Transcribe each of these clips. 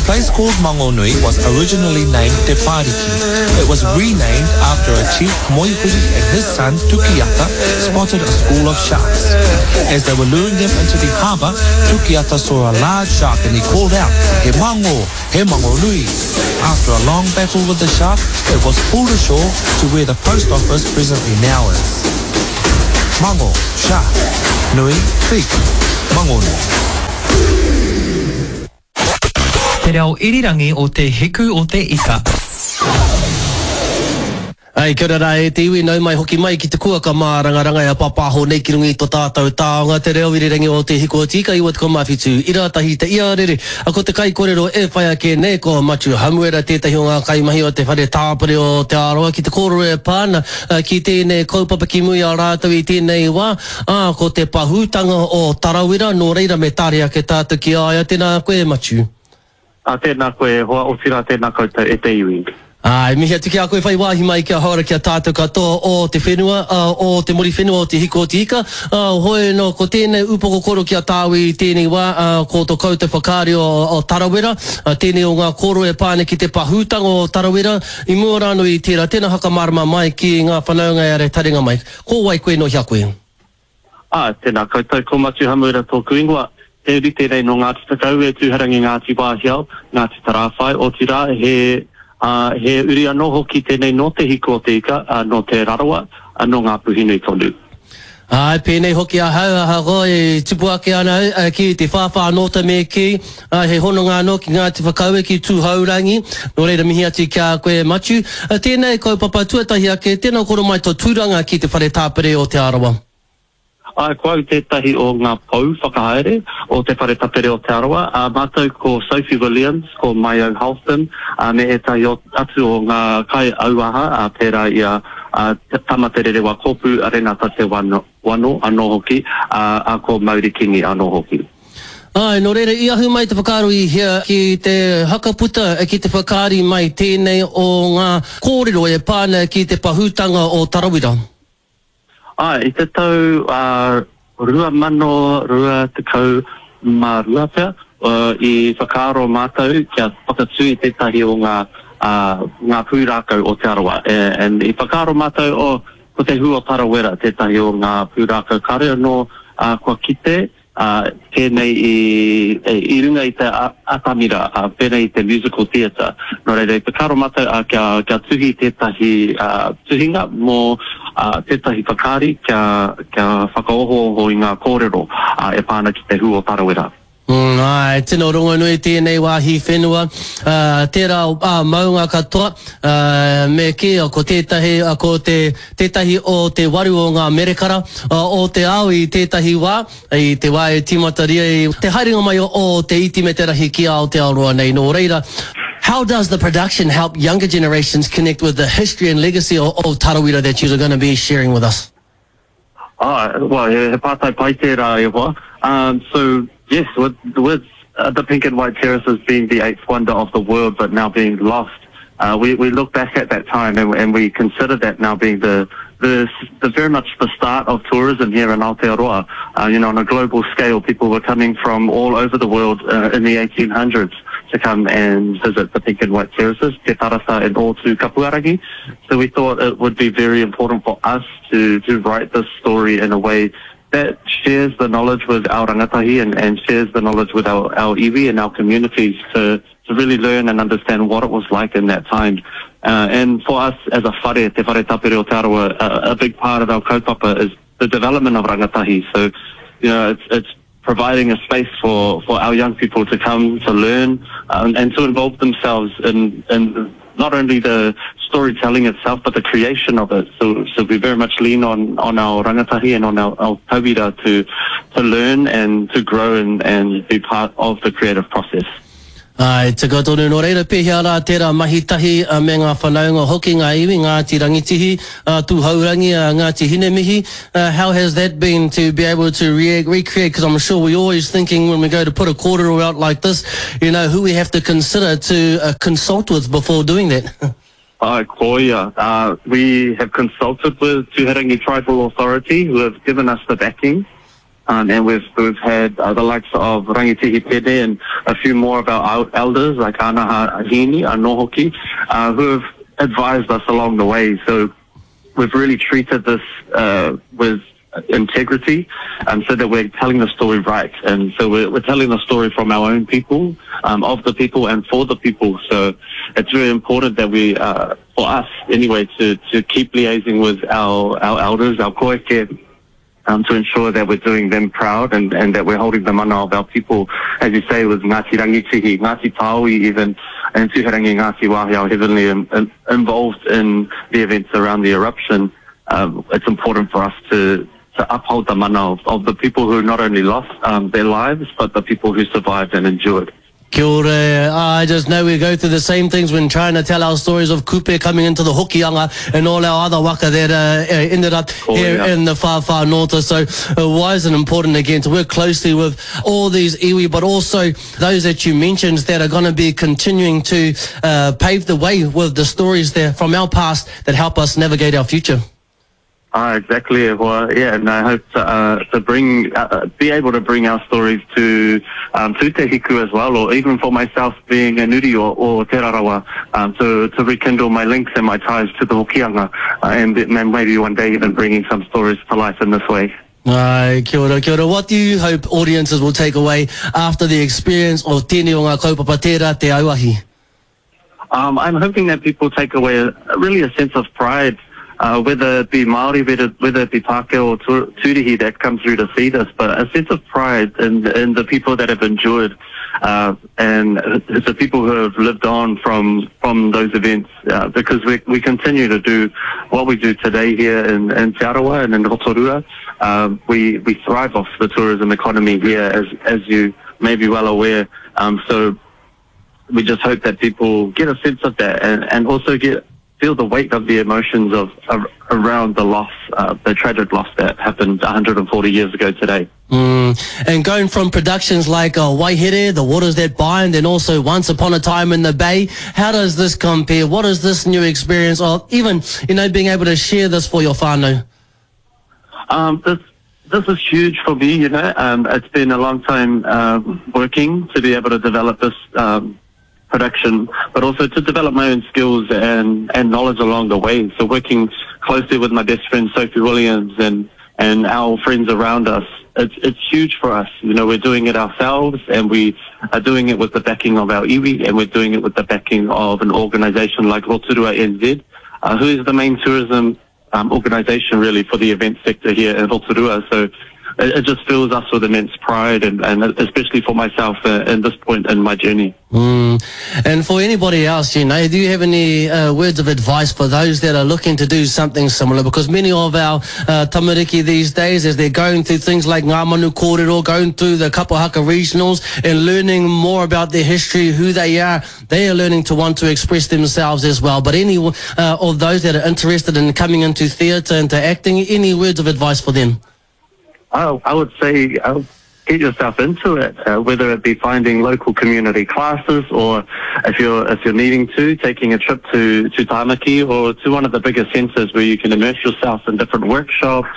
place called Mangonui was originally named Te Pariki. It was renamed after a chief Moihuri and his son Tukiata spotted a school of sharks. As they were luring them into the harbour, Tukiata saw a large shark and he called out, He mango, he mangonui. After a long battle with the shark, it was pulled ashore to where the post office presently now is. Mango, shark, nui, big, mangonui. Te reo irirangi o Te Hiku o Te Ika. Ai, kia ora rā e te iwi, nau mai hoki mai ki te kuaka mārangaranga e pāpāho nei ki runga i to tātou taonga, te reo irirangi o Te Hiku o Te Ika 97, ira tahi te iarere, a ko te kaikorero e whai ake nei ko Matiu Hamuera tētahi o ngā kaimahi o te whare tāpere o Te Arawa ki te kōrero e pā ana ki tēnei kaupapa ki mua i a rātou i tēnei wā, ā, ko te pahūtanga o Tarawera, nō reira me tare ake tātou ki a ia, tēnā koe e Matiu. Ā, tēnā koe e hoa, otirā tēnā koutou e te iwi. Ā, e mihi atu ki a koe whai wāhi mai kia hora ki a tātou katoa o te whenua, ā, o te Muriwhenua o Te Hiko o Te Ika, ā, hoi anō, ko tēnei upoko koro ki a tāu i tēnei wā, ā, ko to koutou whakaari o, o Tarawera, ā, tēnei o ngā kōrero e pā ana ki te pahūtanga o Tarawera, i mua rānō i tērā, tēnā whakamārama mai ki ngā whanaunga e are taringa mai. Ko wai koe nō hea koe? Ā, tēnā koutou, ko Matiu Hamuera tōku ingoa. He uri tēnei nō Ngāti Whakaue, Tūharangi, Ngāti Wāhiao, Ngāti Tarāwhai, otirā, he, ā, he uri anō hoki tēnei nō Te Hiku o Te Ika, ā, nō Te Rarawa, ā, nō Ngāpuhi-nui tonu. Āe, pēnei hoki ahau, ahakoa e tupu ake ana au ki te whāwhā nōta me kī, ā, he hononga anō ki Ngāti Whakaue, ki Tūhourangi, nō reira mihi atu ki a koe Matiu. Tēnei kaupapa tuatahi ake, tēnā koro mai tō tūranga ki te Whare Tāpere o Te Arawa. Āe, ko au tētahi o ngā pou whakahaere o Te Whare Tapere o Te Arawa, ā, mātou ko Sophie Williams, ko Maio Halston, ā, me ētahi atu o ngā kaiauaha, ā, pērā i a, ā, Tama Te Rerewa Kōpū, Renata Te Wano. Wano anō hoki, ā, ā, ko Mauri Kingi anō hoki. Āe, nō reira, i ahu mai te whakaaro i hea ki te hakaputa, ki te whakaari mai tēnei o ngā kōrero e pā ana ki te pahūtanga o Tarawera? Āe, i te tau 2022 pea, i whakaaro mātou kia whakatū i tētahi o ngā, ngā pūrākau o Te Arawa. And i whakaaro mātou, oh, Ko te hū o Tarawera tētahi o ngā pūrākau kāore anō kua kite, pēnei i, i runga i te atamira, pēnei i te musical theatre. Nō reira, i whakaaro mātou kia, kia tuhi tētahi tuhinga mō tētahi whakaari kia, kia whakaohooho i ngā kōrero e pā ana ki te hū o Tarawera. Āe, tino rongonui tēnei wāhi whenua, tērā maunga katoa, me kī, ko tētahi, ko te, tētahi o te waru o ngā merekara o te ao i tētahi wā, i te wā e tīmataria i te haerenga mai o te iti me te rahi ki Aotearoa nei. Nō reira, how does the production help younger generations connect with the history and legacy of Tarawera that you're gonna be sharing with us? Ah, well, he, he pātai pai tērā e hoa. Um, so, yes, with, with uh, the Pink and White Terraces being the eighth wonder of the world, but now being lost, uh, we, we look back at that time and, and we consider that now being the, the, the very much the start of tourism here in Aotearoa. Uh, you know, on a global scale, people were coming from all over the world uh, in the 1800s to come and visit the Pink and White Terraces, Te Tarasa and Ōtū Kapuarangi. So we thought it would be very important for us to, to write this story in a way that shares the knowledge with our rangatahi and, and shares the knowledge with our, our iwi and our communities to, to really learn and understand what it was like in that time. Uh, and for us as a whare, Te Whare Tapere o Te Arawa, a, a big part of our kaupapa is the development of rangatahi. So, you know, it's, it's providing a space for, for our young people to come to learn um, and to involve themselves in, in not only the storytelling itself, but the creation of it. So, so we very much lean on, on our rangatahi and on our, our tauira to, to learn and to grow and, and be part of the creative process. Āe, tika tonu. Nō reira, pēhea rā tērā mahi tahi me ngā whanaunga hoki, ngā iwi, Ngāti Rangitihi, Tūhourangi, Ngāti Hinemihi, how has that been to be able to recreate, because I'm sure we always thinking when we go to put a kōrero out like this, you know, who we have to consider to consult with before doing that? Āe, koia. We have consulted with Tūhourangi Tribal Authority who have given us the backing. Um, and we've, we've had uh, the likes of Rangitihi Pene and a few more of our elders, like Anaha Hini, Anohoki, uh, who have advised us along the way. So we've really treated this uh, with integrity um, so that we're telling the story right. And so we're, we're telling the story from our own people, um, of the people and for the people. So it's very important that we, uh, for us anyway, to, to keep liaising with our, our elders, our koeke, um, to ensure that we're doing them proud and, and that we're holding the mana of our people, as you say, with Ngāti Rangitihi, Ngāti Taui even, and Tuherangi Ngāti Wāhiao heavily in, in, involved in the events around the eruption. Um, it's important for us to, to uphold the mana of, of the people who not only lost um, their lives, but the people who survived and endured. Kia ora. I just know we go through the same things when trying to tell our stories of Kupe coming into the Hokianga and all our other waka that uh, uh ended up oh, here yeah. in the far, far north. So uh, why is it important again to work closely with all these iwi, but also those that you mentioned that are going to be continuing to uh, pave the way with the stories there from our past that help us navigate our future? Ah, exactly. Well, yeah, and I hope to, uh, to bring, uh, uh, be able to bring our stories to um, to Te Hiku as well, or even for myself being a nuri or, or Te Rarawa, um, to, to rekindle my links and my ties to the Hokianga, uh, and, and maybe one day even bringing some stories to life in this way. Ai, kia ora, kia ora. What do you hope audiences will take away after the experience of tēnei o ngā kaupapa tērā te auahi? Um, I'm hoping that people take away a, really a sense of pride, uh, whether it be Māori, whether, whether it be Pākehā or Tūrihi that come through to see this, but a sense of pride in, in the people that have endured uh, and the people who have lived on from, from those events, uh, because we, we continue to do what we do today here in, in Te Arawa and in Rotorua. Um, we, we thrive off the tourism economy here, as, as you may be well aware. Um, so we just hope that people get a sense of that and, and also get feel the weight of the emotions of, of around the loss, uh, the tragic loss that happened 140 years ago today. Mm. And going from productions like uh, Waihere, The Waters That Bind, and also Once Upon a Time in the Bay, how does this compare? What is this new experience of even, you know, being able to share this for your whānau? Um, this this is huge for me, you know. Um, it's been a long time uh, working to be able to develop this um, production, but also to develop my own skills and, and knowledge along the way. So working closely with my best friend Sophie Williams and, and our friends around us, it's, it's huge for us. You know, we're doing it ourselves and we are doing it with the backing of our iwi and we're doing it with the backing of an organization like Rotorua NZ, uh, who is the main tourism um, organisation really for the event sector here in Rotorua. So it, it just fills us with immense pride and, and especially for myself uh, in this point in my journey. Mm. And for anybody else, you know, do you have any uh, words of advice for those that are looking to do something similar? Because many of our uh, tamariki these days, as they're going through things like Ngā Manu Kōrero, going through the Kapahaka regionals and learning more about their history, who they are, they are learning to want to express themselves as well. But any uh, of those that are interested in coming into theatre, into acting, any words of advice for them? I, I would say uh, get yourself into it, uh, whether it be finding local community classes or if you're if you're needing to, taking a trip to, to Tamaki or to one of the bigger centres where you can immerse yourself in different workshops.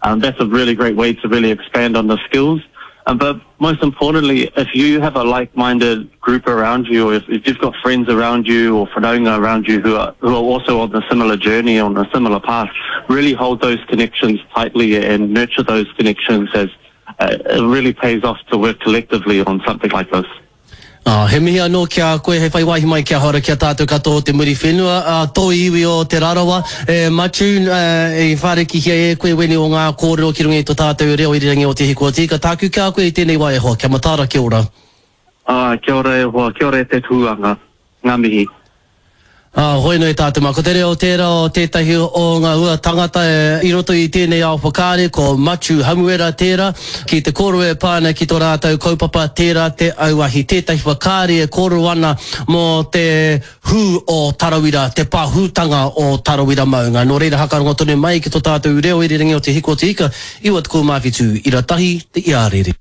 Um, that's a really great way to really expand on the skills. Um, but most importantly, if you have a like-minded group around you, or if, if you've got friends around you or whanaunga around you who are, who are also on a similar journey, on a similar path, really hold those connections tightly and nurture those connections as uh, it really pays off to work collectively on something like this. Oh, he mihi anō ki a koe, he whai wāhi mai kia hora ki a tātou katoa o te Muriwhenua, a tō iwi o Te Rarawa, e Matiu, i whārikihia e koe wēnei o ngā kōrero ki runga i tō tātou reo irirangi o Te Hiku o Te Ika. Tāku ki a koe i tēnei wā e hoa, kia mataara, kia ora. Ā, kia ora e hoa, kia ora e te tūanga. Ngā mihi. Ā, hoi nei tātou mā. Ko te reo tērā o tētahi o ngā hua tangata i roto i tēnei ao whakaari, ko Matiu Hamuera tērā, ki te kōrero e pā ana ki tō rātou kaupapa, tērā te auahi. Tētahi whakaari e kōrero ana mō te hū o Tarawira, te pahūtanga o Tarawira maunga. Nō reira hakarongo tonu mai ki tō tātou reo irirangi o Te Hiko o Te Ika, 97 ira tahi te iarere.